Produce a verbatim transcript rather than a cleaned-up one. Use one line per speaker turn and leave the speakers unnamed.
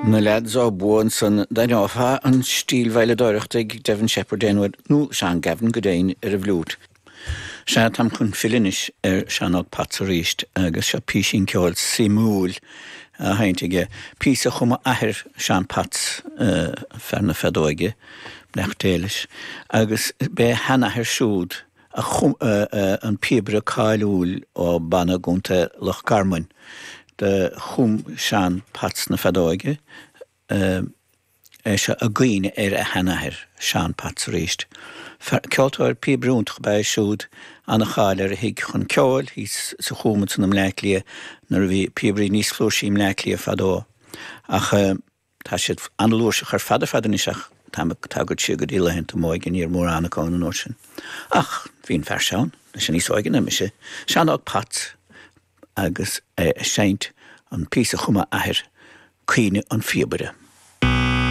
Na Lads ó Bua ansan d'aithneofá an stíl veidhleadóireachta ag Devin Sheppard aon uair, nó Seán Gavin go deimhin ar an bhfliúit. Sea, táim chun filleadh anois ar Seán Óg Potts arís agus seo písín ceoil suimiúil á sheinnt aige. Píosa a chum a athair Seán Potts, fear na feadóige, beannacht Dé leis, agus b'é a sheanathair siúd a chum an píobaire cáiliúil ó Banna i gContae Loch Garman. Do chum Seán Potts na feadóige é seo i gcuimhne ar a sheanathair, Seán Potts arís. Ceoltóir píobaire iontach ab ea é siúd, an-cháil ar a thigh chun ceoil thíos sa Chúm ansan i mBleá Cliath nuair a bhí píobairí níos flúirsí i mBleá Cliath fadó. Ach tá siad an-fhlúirseach ar fad ar fad anois ach táim ag tagairt siar go dtí laethanta m'óige, ní raibh mórán acu ann an uair sin. Ach bhí an fear seo ann, tá sé níos óige ná mise, Seán Óg Potts, agus é ag seinnt an píosa a chum a athair, Caoineadh an Phíobaire.